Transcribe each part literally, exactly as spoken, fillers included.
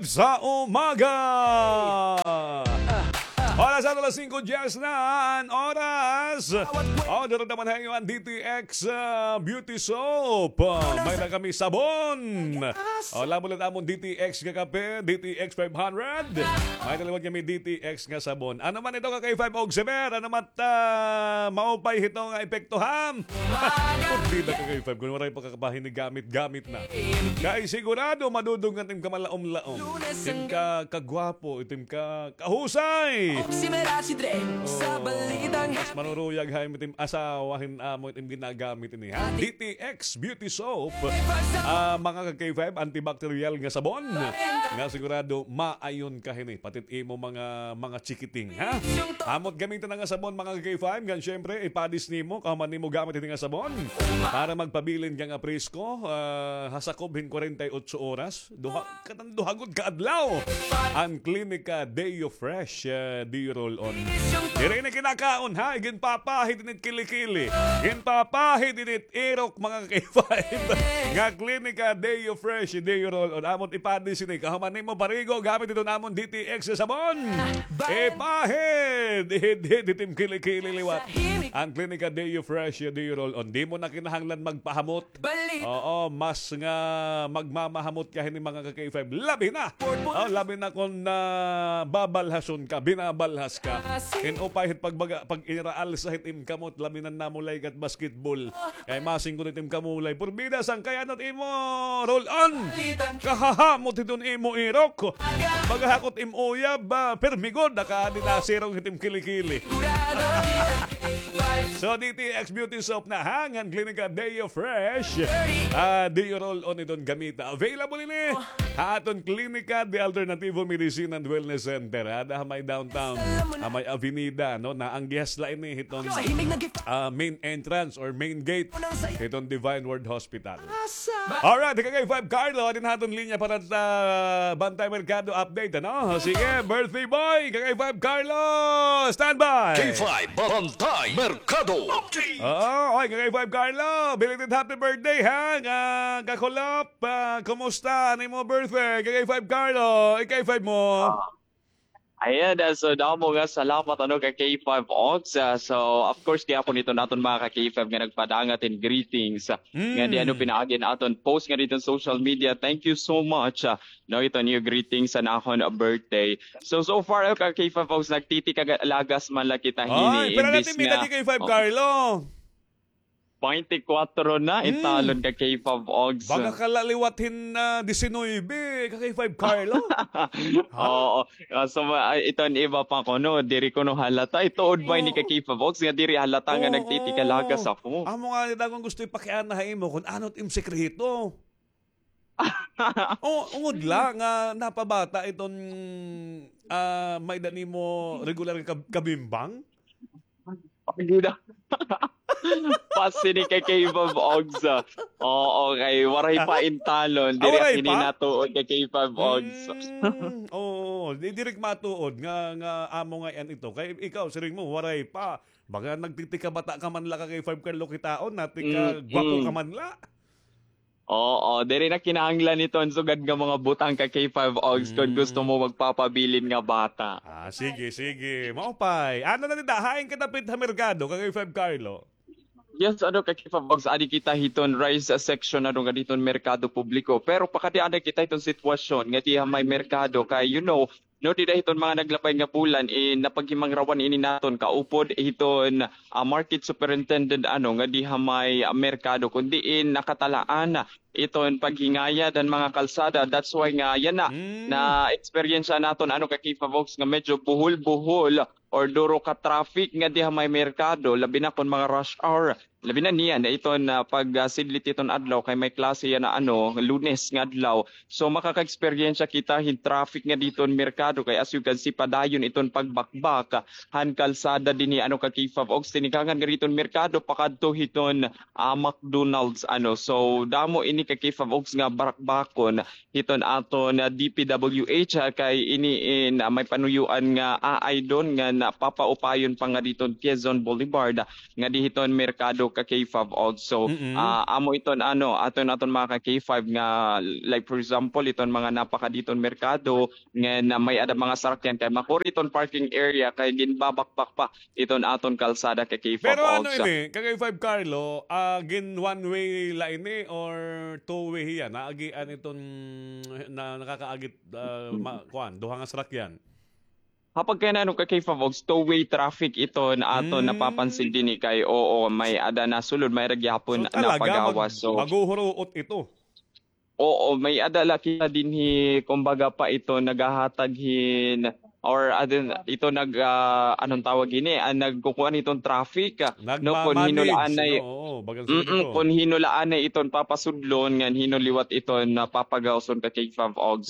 sa umaga. Oras ato alas singko diyes na an oras. O, diri naman ha iyo an D T X, ah, Beauty Soap. Ah, may-ada kami sabon. O, labi na an amon D T X nga kape, D T X five hundred. May-ada liwat kami D T X nga sabon. Ano man ito ka K five og sever? Ano man, ah, maupay hito nga epekto, ha? Pagdida ka K five, kun waray pa ka kapahinigamit-gamit na. Kay sigurado madudog nga it im kamalaom-laom. It im ka, kagwapo, it im ka, kahusay. Oo, mas maruruyag ha im it im asawa hin amo it im ginagamit ini, ha? D T X Beauty Soap. Ah, mga ka K five, antibacterial nga sabon. Nga sigurado maayon ka hini. Pati it imo mga, mga chikiting, ha? Amot gamiton na nga sabon, mga ka K five, ngan syempre, ipadis nimo, kahuman nimo gamit ini nga sabon. Para magpabilin ka nga presko, ah, ha sakob hin kwarenta y otso oras. Duha, katang duha gud ka adlaw. An Clinica Deo Fresh, ah, Deo Roll-On. Diri na kinakaon, ha? Ginpapahid ini it kilikili. Ginpapahid ini it irok, mga ka K five. Nga Clinica Deo Fresh, Deo Roll-On. Amot ipadis ini. Kahuman nimo parigo, gamit iton amon D T X nga sabon. Ipahid! Ihid-hid it im kilikili liwat. An Clinica Deo Fresh, Deo Roll-On. Di mo na kinahanglan magpahamot. Oo, mas nga magmamahamot ka hini, mga ka K five. Labi na! O, labi na kun, ah, babalhason ka, binabalhas ka. Hin upay hit pagbaga, pag-iniraalsa hit im kamot, labi na namulay ka hit basketball. Kay masingkot it im kamulay. Purbida, sangkay ano it imo roll-on. Kahahamot hiton imo irok. Pagahakot im uyab, ah, pirmi gud, nakaadi na sirong hit im kilikili. So, D T X Beauty Soap na, ha? Ngan Clinica Deo Fresh. Ah, Deo Roll-On iton gamita. Available ini ha aton Clinica de Alternativo Medicine and Wellness Center. Ada ha may downtown, ha may avenida, no? Naanggihas la ini hiton, ah, main entrance or main gate hiton Divine Word Hospital. Alright, K K five Carlo, adi na aton linya para sa Bantay Merkado update, ano? Sige, birthday boy, K K five Carlo, standby. K five Bantay Merkado update. Oo, oy, K K five Carlo, belated happy birthday, ha? Nga, kakulop, ah, kumusta an imo birthday, K K five Carlo? I K five mo. Ah, Ayan, ah, so damo nga salamat, ano, ka K five Ox. Ah, so, of course, gihapon iton aton mga ka K five nga nagpadangat hin greetings, ah, nga di ano pinaagi han aton post nga didto ha social media. Thank you so much, ah, no, iton iyo greetings han akon birthday. So, so far, ano, ka K five Ox, nagtitikalagas man la kita hini, pira na it im edad, K five Carlo? Baynte kwatro na, italon ka K five Ogs. Baga ka la liwat hin, ah, disinuybe, ka K five Carlo. Oo. Ah, so, ah, iton iba pa kuno, diri kuno halata. Ituod ba ini ka K five Ogs nga diri halata nga nagtitikalagas ako? Amo nga, daghan gusto ipakiana ha imo kun ano it im sekreto. O, ungod la nga napabata iton, ah, may-ada nimo regular nga kab-, kabimbang? Pagida. Pas ini kay K five Ogs, ah. Oo, kay waray pa intalon. Diri ako ini natuod kay K five Ogs. Oo, di, diri ko matuod nga, nga amo ngay-an ito. Kay ikaw, siring mo, waray pa. Baga nagtitikabata ka man la ka K five Carlo kitaon, natikagwapo ka man la. Oo, diri na kinahanglan iton sugad nga mga butang ka K five Ogs kon gusto mo magpapabilin nga bata. Ah, sige, sige. Maupay. Ano na dida? Hain ka dapit ha merkado, ka K five Carlo? Yes, ano, ka K five Ogs, adi kita hiton rice section, ano, nga diton merkado publiko. Pero pakadi-an na kita hiton sitwasyon nga diha may merkado kay, you know, no, dida hiton mga naglabay nga bulan, eh, napaghimangrawan ini naton kaupod hiton, ah, market superintendent, ano, nga diha may, ah, merkado, kun diin nakatalaan iton paghingayad han mga kalsada. That's why nga yana, na-experience naton, ano, ka K five Ogs, nga medyo buhol-buhol or duro ka traffic nga diha may merkado, labi na kon mga rush hour. Labi na niyan, iton, ah, pag, ah, sidlit iton adlaw kay may klase yana, ano, Lunes nga adlaw. So, makaka-eksperyensya kita hin traffic nga diton merkado kay as you can see, padayon iton pagbakbak han kalsada dinhi, ano, ka K five Ogs, tinikangan nga diton merkado pakadto hiton, ah, McDonald's, ano. So, damo ini ka K five Ogs nga barakbakon hiton aton, ah, D P W H, ah, kay ini in, ah, may panuyoan nga aay don nga napapaupayon pa nga diton Quezon Boulevard, ah, nga di hiton merkado ka K five Og. So, ah, amo iton ano, aton, aton mga ka K five nga, like, for example, iton mga napakadi iton merkado, ngan, ah, may-ada mga sarakyan kay makuri iton parking area kay ginbabakbak pa iton aton kalsada ka K five Og. Pero ano ini, ka K five Carlo, ah, gin one way la ini or two way hiya? Naagian iton na, nakakaagit, ah, ma-, kuan, duha nga sarakyan? Ha pagkayana ano ka K five Og, two-way traffic iton aton napapansin dinhi kay, oo, may-ada nasulod, may-ada gihapon napagawas. So, maguhuruot ito. Oo, may-ada la kita dinhi, kumbaga pa ito naghahatag hin, or adin, ito nag, ah, anong tawag ini, ah, nagkukuan iton traffic, ah, no, kun hino la anay, oo, bagan sa ito. Kun hino la anay iton papasudlon, ngan hino liwat iton napapagawson ka K five Og.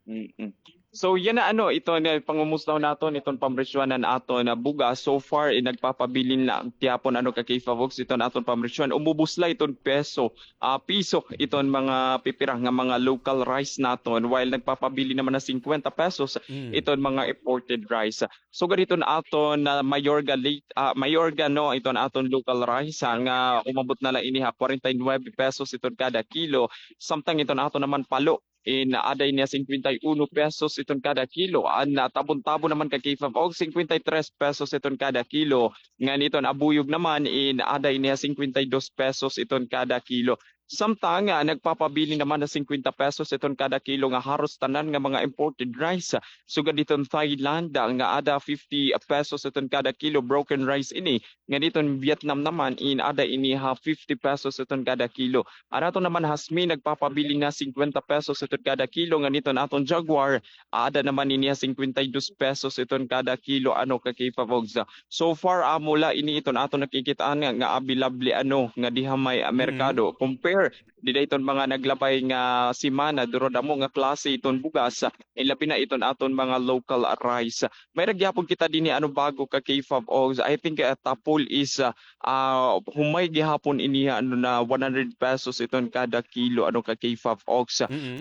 Mm. So, yana ano, ito na pangumusta naton, iton pamresyuhan han aton bugas. So far, eh, nagpapabilin la gihapon ano ka K five Og iton aton pamresyuhan. Umubos la iton peso, ah, piso, iton mga pipira nga mga local rice naton. While nagpapabilin naman na singkwenta pesos, iton mga imported rice. Sugad iton aton na Mayorga late, ah, Mayorga, no, iton aton local rice, ah, nga umabot na la ini ha kwarenta y nuebe pesos iton kada kilo. Samtang iton aton naman palo, in, aada ini ha singkwenta y uno pesos iton kada kilo. An, ah, tabon-tabon naman ka K five Og, singkwenta y tres pesos iton kada kilo. Ngan iton abuyog naman, in, aada ini ha singkwenta y dos pesos iton kada kilo. Samtang, ah, nagpapabilin naman ha singkwenta pesos iton kada kilo nga haros tanan nga mga imported rice. Sugad iton Thailand, ah, nga aada fifty pesos iton kada kilo, broken rice ini. Ngan iton Vietnam naman, in, aada ini ha fifty pesos iton kada kilo. An aton naman hasmi nagpapabilin ha singkwenta pesos iton kada kilo, ngan iton aton Jaguar, aada naman ini ha singkwenta y dos pesos iton kada kilo, ano ka K five Og. So far, amo la ini iton aton nakikit-an nga, nga abilable, ano, nga diha may, ah, merkado. Compare dida iton mga naglabay nga semana, durod amo nga klase iton bugas, ah, ilabi na iton aton mga local, ah, rice. May-ada gihapon kita dinhi, ano, bago ka K five Og. I think, ah, tapol is, ah, ah, humay gihapon ini, ano, na one hundred pesos iton kada kilo, ano, ka K five Og.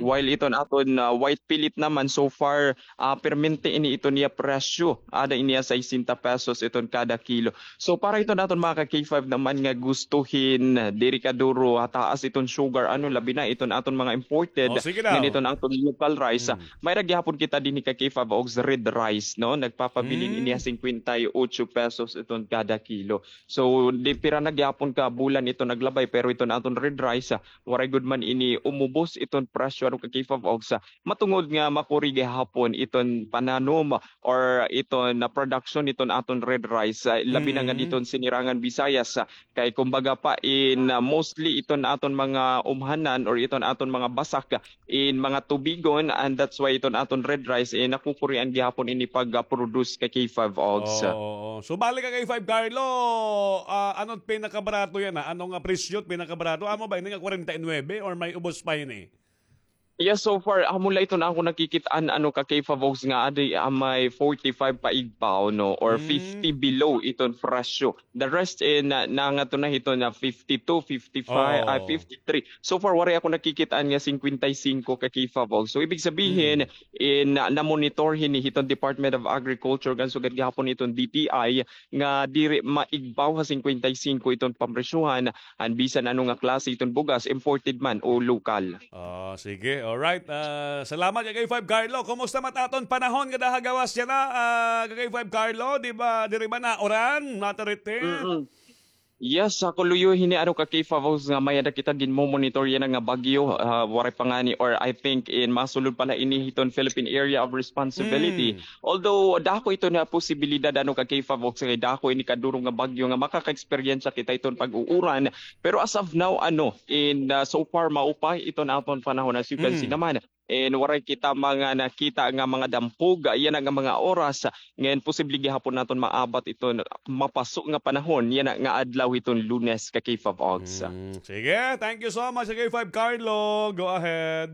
While iton aton, ah, white pellet naman, so far, ah, permente ini iton iya presyo. Aada ini ha sesenta pesos iton kada kilo. So, para iton aton mga ka K five naman nga gusto hin diri kaduro ha taas iton sugar, ano, labi na iton aton mga imported, ngan iton aton local rice, ah, may-ada gihapon kita dinhi ka K five Og red rice, no? Nagpapabilin ini ha singkwenta y ocho pesos iton kada kilo. So, di pira na gihapon ka bulan iton naglabay, pero iton aton red rice, ah, waray gud man ini umubos iton presyo, ano ka K five Og, matungod nga makuri gihapon iton pananom or iton na production iton aton red rice, ah, labi na nga diton Sinirangan Visayas, ah, kay kumbaga pa in, ah, mostly iton aton mga umhanan or iton aton mga basak, ah, in mga tubigon, and that's why iton aton red rice, eh, nakukurian gihapon ini pag, ah, produce ka K five Og. Oo, oo. So, balik ka K five Carlo, ah, ano it pinakabarato yana? Ano nga presyo it pinakabarato? Amo ba ini nga kwarenta y nuebe or may ubos pa ini? Yes, so far, amo la iton akon nakikit-an, ano ka K five Og, nga adi, ah, may forty-five paigbaw, no, or fifty below iton presyo. The rest, eh, na, nangato na hiton na fifty-two, fifty-five, ay, fifty-three. So far, waray ako nakikit-an nga singkwenta y singko ka K five Og. So, ibig sabihin, eh, na, na-monitor hini hiton Department of Agriculture, ngan sugad gihapon hiton D T I, nga diri maigbaw ha singkwenta y singko iton pamresyuhan, an bisan ano nga klase iton bugas, imported man o lokal. Oh, sige. Alright. Ah, salamat, ka K five Carlo. Kumusta man it aton panahon ngada ha gawas yana, ah, ka K five Carlo? Di ba, diri ba nauran? Matarite? Mm-mm. Yes, ha kuluyo hini, ano ka K five Og, nga may-ada kita ginmo-monitor yana nga bagyo, ah, waray pa ngani, or I think in masulod pa la ini hiton Philippine Area of Responsibility. Although dako ito na posibilidad, ano ka K five Og, kay dako ini kaduro nga bagyo nga makaka-eksperyensya kita iton pag-uuran. Pero as of now, ano, in, ah, so far, maupay iton aton panahon, as you can see naman. And waray kita mga nakita nga mga dampog, yana nga mga oras. Ngan posible gihapon naton maabat iton mapaso nga panahon, yana nga adlaw hiton Lunes ka K five Og. Mm, sige, thank you so much, K five Carlo. Go ahead.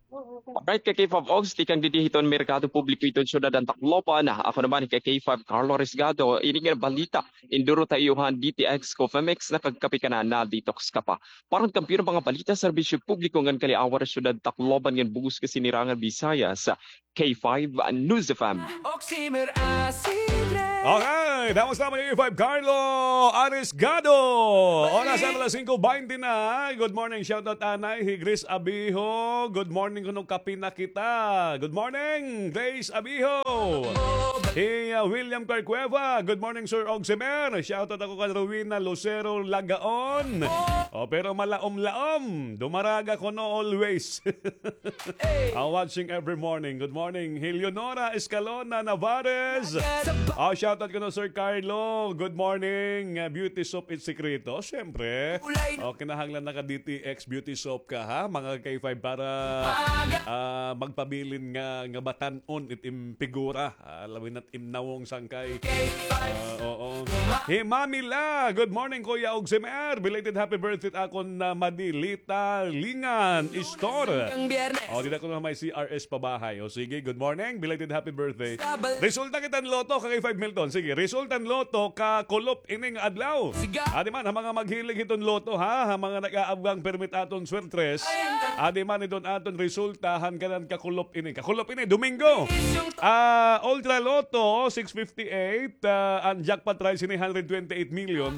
Alright, ka K five Og, tikang didi hiton Merkado Publiko hiton syudad han Tacloban. Ako naman, ka K five Carlo Risgado, ini nga balita, induro ta iyo han D T X Coffee Mix, nakagkape ka na, na-detox ka pa. Para han kampiyon nga mga balita, serbisyo publiko ngan kaliawar ha syudad Tacloban ngan bug-os nga Sinirangan Visayas, K five News F M. Okay. Damos naman yung five, Carlo Arisgado. Oras na alas singko baynte na. Good morning, shoutout anay. Hi Grace Abiho. Good morning, kuno kape na kita. Good morning, Grace Abiho. Hi uh, William Carcueva. Good morning, Sir Ogsemer. Shoutout ako kan Rowena Lucero Lagaon. Oh, pero malaom-laom. Dumaraga kuno always. Ah, watching every morning. Good morning, Hi Leonora Escalona Navarez. Ah, shoutout kuno Sir Carlo. Good morning. Ah, beauty soap it sikreto. Siyempre. Oh, kinahanglan naka D T X beauty soap ka, ha? Mga K five para ah, magpabilin nga, nga batan-on it im figura. Ah, labi na't im nawong sangkay. Ah, oo. Hi Mami La, good morning, Kuya Ogsemer. Belated happy birthday akon na Madilita Lingan Store. Oh, dida kuno may C R S pabahay. O sige, good morning. Belated happy birthday. Resulta kita hin lotto, ka K five Milton. Sige, resulta hin lotto, ka kulop ining adlaw. Adi man, ha mga maghilig hiton lotto, ha? Ha mga nag-aabgang permit aton swertres. Adi man, iton aton resulta, han kanan ka kulop ini. Ka kulop ini, Domingo. Ah, Ultra Lotto, six fifty-eight. Ah, an jackpot prize ini, hundred twenty-eight million.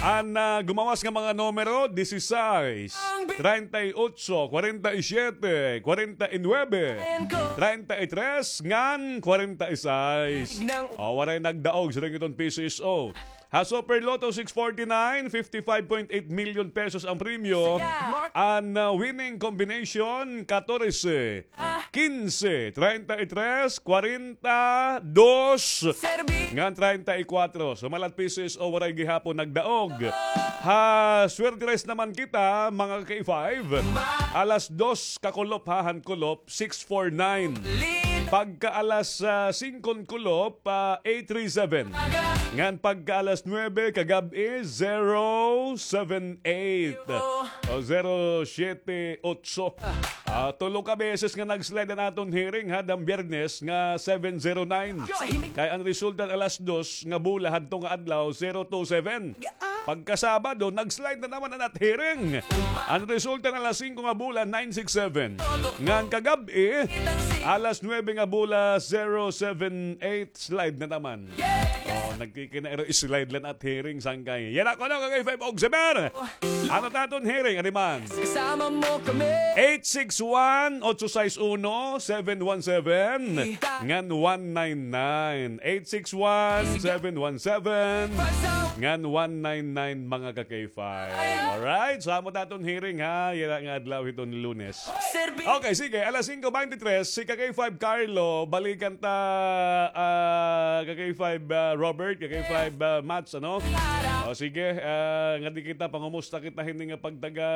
An ah, gumawas nga mga numero, dieciséis, treinta y ocho, cuarenta y siete, cuarenta y nueve, treinta y tres, ngan cuarenta y seis. O, waray nagdaog, siring iton P C S O. Ha Super Lotto six forty-nine, fifty-five point eight million pesos ang premyo. An ah, winning combination, katorse, kinse, treinta y tres, kwarenta, dos, ngan treinta y kuwatro. Sumalat P C S O, waray gihapon nagdaog. Ha Swertres naman kita, mga K five, alas dos ka kulop, ha, han kulop, six four nine. Pagka alas ah, singko hin kulop, ah, eight three seven. Ngan pagka alas nuebe kagab-i, zero seven eight. O zero siete ocho. Ah, tulo ka beses nga nag-slide an aton hearing, ha, dang Biyernes nga seven zero nine. Kay an resulta alas dos nga bola hadto nga adlaw, zero two seven. Pagka Sabado, nag-slide na naman an at hearing. An resulta na alas singko nga bola, nine six seven. Ngan kagab-i, alas nuebe nga bola, zero seven eight, slide na naman. Oh, nagkikinairo, slide la an at hearing, sangkay. Yana kuno, ka K five Ogsemer. Ano ta aton hearing, adi man? Kasama mo kami. Eight six one, ocho sais uno, seven one seven. Ngan one nine nine. Eight six one, seven one seven. Ngan one nine nine, mga ka K five. Alright, so amo ta aton hearing, ha, yana nga adlaw hiton Lunes. Okay, sige, alas singko baynte tres, si ka K five Carlo, balikan ta, ah, ka K five, ah, Robert, ka K five, ah, Mats, ano? O sige, ah, ngadi kita, pangumusta kita hini nga pagtaga,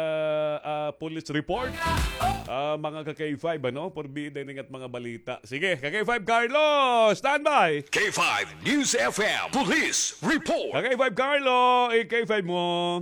ah, police report. Ah, mga ka K five, ano? Porbida ini nga mga balita. Sige, ka K five Carlo, standby! K five News F M Police Report. Ka K five Carlo, i-K five mo.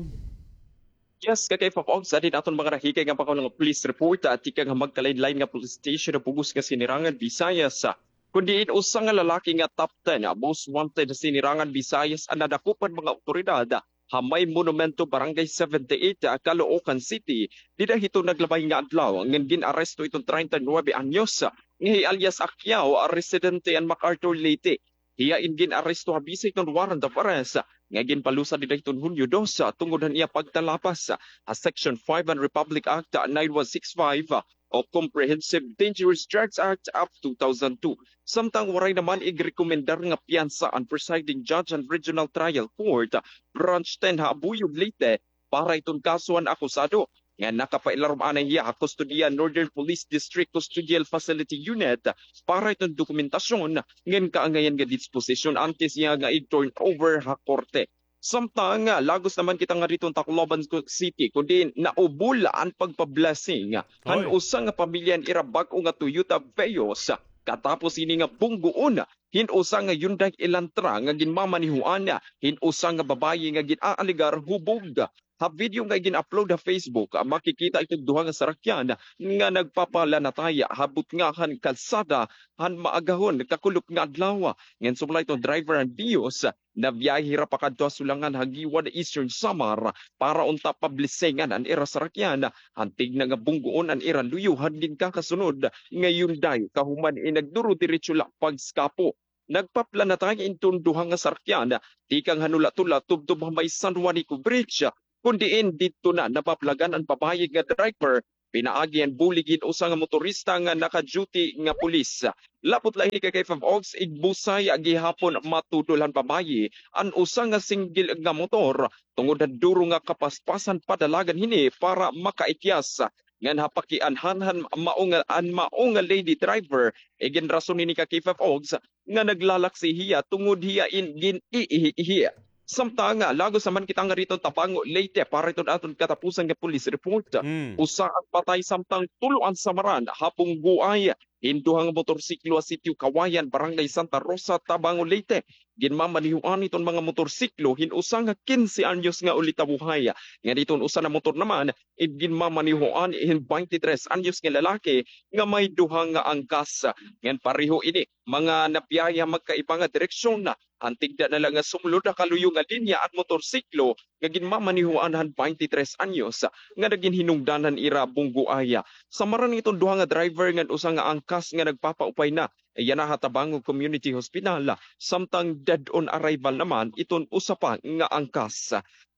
Yes, ka K five Ogs, adi an aton mga nahikay nga mga police report, ah, tikang ha magkalain-lain nga police station ha bug-os nga Sinirangan, Visayas. Kundi in usa nga lalaki nga top ten, ah, most wanted ha Sinirangan, Visayas, an nadakop han mga awtoridad, ah, ha may monumento, Barangay seventy-eight, ah, Caloocan City, dida hiton naglabay nga adlaw, ngan gin-aresto iton treinta y nuebe anyos, ah, nga hi alias Acquiao, ah, residente han MacArthur, Leyte. Hiya in gin-aresto ha bisa hiton warrant of arrest nga ginpalusa dida hiton Hunyo dos, tungod han iya pagtalapas ha Section five han Republic Act nine one six five o Comprehensive Dangerous Drugs Act of two thousand two. Samtang waray naman igrekomendar nga piyansa an presiding judge han Regional Trial Court, Branch ten ha Abuyog, Leyte, para hiton kaso han akusado nga nakapailarom anay hiya ha kustodiya Northern Police District Custodial Facility Unit para hiton dokumentasyon ngan kaangayan nga disposisyon antes hiya nga i-turn over ha korte. Samtang, ah, lagos naman kita ngadto ha Tacloban City, kundi naubol an pagpa-blessing han usa nga pamilya han ira bag-o nga Toyota Vios, katapos ini nga bunggoon hin usa nga Hyundai Elantra nga ginmamanehoan hin usa nga babaye nga gin-aalegar hubog. Ha video nga gin-upload ha Facebook, ah, makikita iton duha nga sarakyan nga nagpapalanataya ha butnga han kalsada han maagahon kakulop nga adlaw. Ngan sumala iton driver han Vios, nabiyahe hira pakadto ha Sulangan ha Guiuan, Eastern Samar, para unta pa-blessingan an ira sarakyan. Antes na nga bunggoon an ira luyo han ginkakasunod nga Hyundai, kahuman in nagduro-diretso la pagskapo. nagpaplanatay iton duha nga sarakyan tikang han Olatula tubtob ha may San Juanico Bridge, kun diin didto na namaplagan an babaye nga driver pinaagi han bulig hin usa nga motorista nga naka-duty nga pulis. Lapot la hini ka K five Ogs, igbusay gihapon matudol han babaye an usa nga single nga motor tungod han duro nga kapaspas han padalagan hini para makaikyas. Ngan ha pakianhan han mao nga, an mao nga lady driver, iginrason hini ka K five Ogs nga naglalaksi hiya tungod hiya in gin-iihi-ihi. Samtang, ah, lagos naman kita nga didto Tabango, Leyte, para iton aton katapusan nga police report. Mm. Usa an patay samtang tulo an samaran ha bunggoay hin duha nga motorsiklo ha Sitio Kawayan, Barangay Santa Rosa, Tabango, Leyte. Ginmamanehoan iton mga motorsiklo hin usa nga kinse anyos nga ulitawohay, ngan iton usa na motor naman, ginmamanehoan hin baynte tres anyos nga lalaki nga may duha nga angkas. Ngan pareho ini mga nabiyahe ha magkaiba nga direksyon. Antigda na la nga sumulod ha kaluyo nga linya an motorsiklo nga ginmamanehoan han baynte tres anyos nga nagin hinungdan han ira bunggoay. Samaran iton duha nga driver ngan usa nga angkas nga nagpapaupay na yana ha Tabango Community Hospital, samtang dead on arrival naman iton usa pa nga angkas.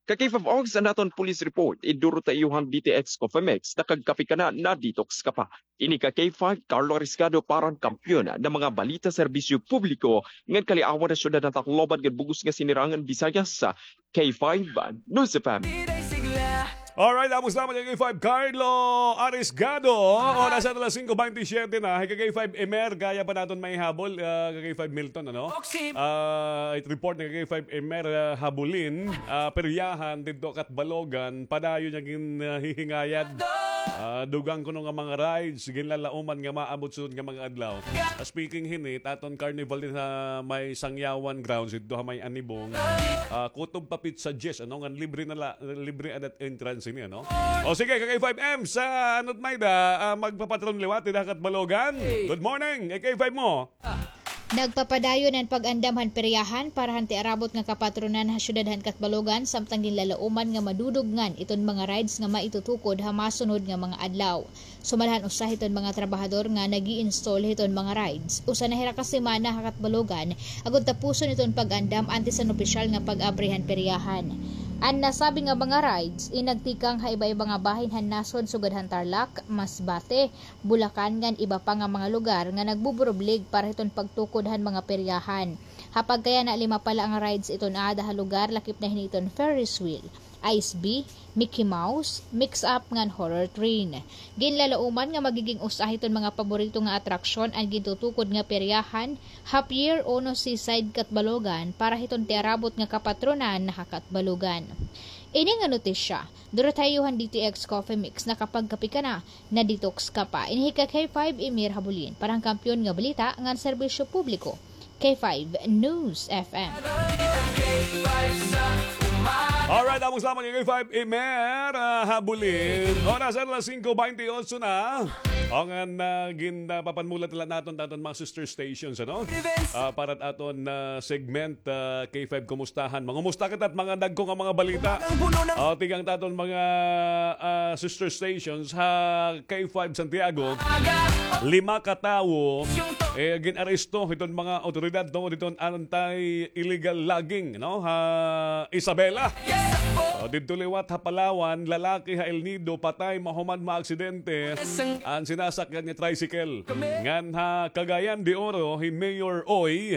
Ka K five Ogs, an aton police report, idurot ha iyo han D T X Coffee Mix, nakagkape ka na, na-detox ka pa. Ini ka K five, Carlo Ariscado para han Kampiyon nga mga balita, serbisyo publiko, ngan kaliawan ha syudad han Tacloban ngan bug-os nga Sinirangan Visayas, K five News F M. Alright, tapos naman an K five, Carlo Ariscado. Oras na alas singko baynte siyete na. Hi ka K five Emer, kaya pa naton maihabol, ah, ka K five Milton, ano? Ah, it report ni ka K five Emer, ah, Habulin, ah, peryahan didto Catbalogan, padayon nga gin, ah, hihingayad. Ah, dugang kuno nga mga rides, ginlalauman nga maabot sunod nga mga adlaw. Ah, speaking hini, it aton carnival dida ha may Sangyawan Grounds, didto ha may Anibong. Ah, kutob pa pitsa diyes, ano, ngan libre na la, libre adat entrance ini, ano? O sige, ka K five M sa Anod Mayda, ah, magpapatron liwat dida ha Catbalogan. Good morning, K five mo. Nagpapadayon an pag-andam han peryahan para han tiarabot nga kapatronan ha syudad han Catbalogan, samtang ginlalauman nga madudugngan iton mga rides nga maitutukod ha masunod nga mga adlaw. Sumala han usa hiton mga trabahador nga nag-i-install hiton mga rides, usa na hira ka semana ha Catbalogan agod tapuson iton pag-andam antes han opisyal nga pag-abri han peryahan. An nasabi nga mga rides in nagtikang ha iba-iba nga bahin han nasod sugad han Tarlac, Masbate, Bulacan ngan iba pa nga mga lugar nga nagbuburublig para hiton pagtukod han mga peryahan. Ha pagkayana, lima pa la nga rides iton aada ha lugar, lakip na hini iton Ferris wheel, Ice Bee, Mickey Mouse, Mix Up ngan Horror Train. Ginlalauman nga magiging usa hiton mga paborito nga atraksyon an gintutukod nga peryahan ha Pier Uno Seaside, Catbalogan para hiton tiarabot nga kapatronan ha Catbalogan. Ini nga notisya, durot ha iyo han D T X Coffee Mix, nakapagkape ka na, na-detox ka pa. Ini hi ka K five Emer Habulin para han Kampiyon nga Balita ngan Serbisyo Publiko, K five News F M. Alright, tapos lamang an K five Emer, ah, Habulin. Oras alas singko baynte otso na. O ngan, ah, gin, ah, papanmulat la naton, naton mga sister stations, ano? Ah, para aton, ah, segment, ah, K five Kumustahan. Mangumusta kita hit mga dagko nga mga balita. O, tikang aton mga, ah, sister stations ha K five Santiago. Lima ka tawo, eh, gin-aresto hiton mga awtoridad tungod hiton anti-illegal logging, no? Ha Isabela. O, didto liwat ha Palawan, lalaki ha El Nido, patay mahuman maaksidente an sinasakyan nga tricycle. Ngan ha Cagayan de Oro, hi Mayor Oy,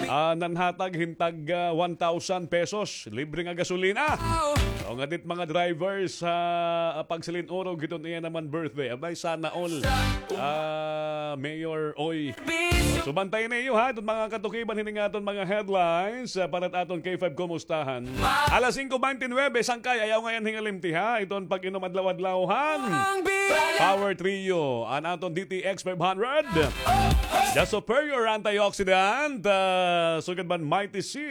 ah, nanhatag hin tag, ah, one thousand pesos. Libre nga gasolina. O, ngan hit mga drivers ha, ah, pagsilin-urog hiton iya naman birthday. Abay, sana all. Ah, Mayor Oy. So, bantayan niyo, ha, iton mga katukiban hini nga aton mga headlines, ah, para hit aton K five Kumustahan. Alas singko baynte nuwebe, sangkay, ayaw ngay-an hingalimti, ha, iton pag-inom adlaw-adlaw han Power Trio, an aton D T X five hundred, the superior antioxidant, ah, sugad man Mighty C,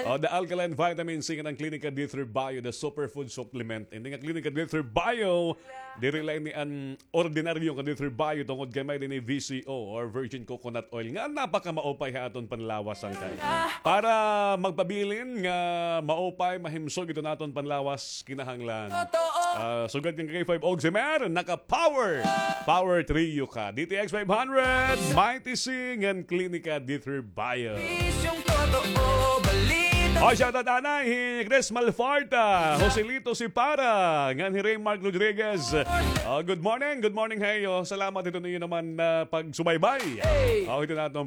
o, the alkaline vitamin C, ngan an Clinica D three Bio, the superfood supplement. Ini nga Clinica D three Bio, diri la ini an ordinaryo nga D three Bio tungod kay may dinhi V C O or virgin coconut oil nga napakamaupay ha aton panlawas, sangkay. Para magpabilin nga maupay, mahimsog iton aton panlawas, kinahanglan Ah, sugad kan K five Oximer, naka-power. Power Trio ka. D T X five hundred, Mighty C, ngan Klinika D three Bio. O, shout out anay hi Chris Malfarta, Joselito Sipara, ngan hi Raymark Rodriguez. O, good morning, good morning ha iyo. Salamat hito niyo naman na pagsubaybay. O, hito naton